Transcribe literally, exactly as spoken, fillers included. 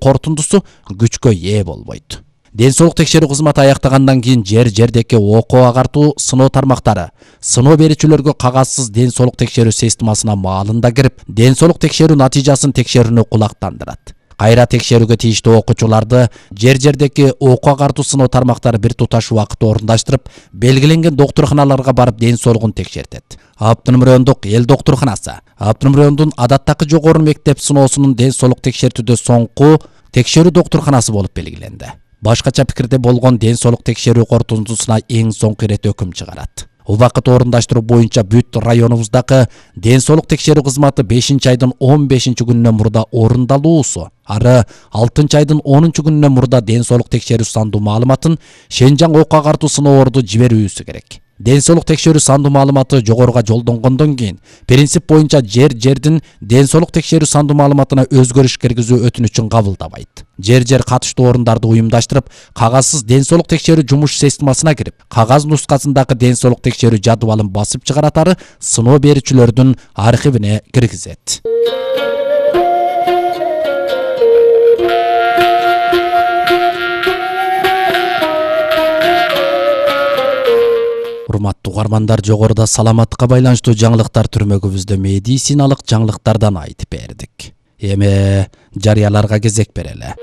корутундусу күчкө ээ болбойт. Ден соолук текшерүү кызматы аяктагандан кийин жер жердеки окуу агартуу сыноо тармактары сыноо берүүчүлөргө кагазсыз ден соолук текшерүү системасына маалында кирип, ден соолук текшерүү натыйжасын текшерүүнү кулактандырат. Кайра текшерүүгө тийиштүү окуучуларды жер жердеки окуу агартуу сыноо тармактары бир туташ убакытта орундаштырып, белгиленген доктурканаларга барып ден соолугун текшертет. Автоном райондук эл доктурканасы Автоном райондун адаттагы жогору мектеп сыноосунун ден соолук текшертүүдө соңку текшерүү доктурканасы болуп белгиленди. Башкача пикирде болгон ден соолук текшерүү корутундусуна эң соңку ирет өкүм чыгарат. Убакыт орундаштыруу боюнча бүт районубуздагы ден соолук текшерүү кызматы бешинчи айдын он бешинчи күнүнөн мурда орундалуусу, ары алтынчы айдын онунчу күнүнөн мурда ден соолук текшерүү сандуу маалыматын Шенжаң окуу агартуу сыноорду жиберүүсү керек. Ден соолук текшерүү сандуу маалыматы жогоруга жолдонгондон кийин принцип боюнча жер жердин ден соолук текшерүү сандуу маалыматына өзгөрүш киргизүү өтүнүчүн кабылдабайт. Жер жер катыштуу орундарды уюмдаштырып, кагазсыз ден соолук текшерүү жумуш системасына кирип, кагаз нускасындагы ден соолук текшерүү жадыбалын басып чыгаратары сыноо берүүчүлөрдүн архивине киргизет. Урматтуу угармандар, жогоруда саламаттыкка байланыштуу жаңылыктар түрмөгүбүздө медициналык жаңылыктардан айтып бердик. Эми жарыяларга кезек берели.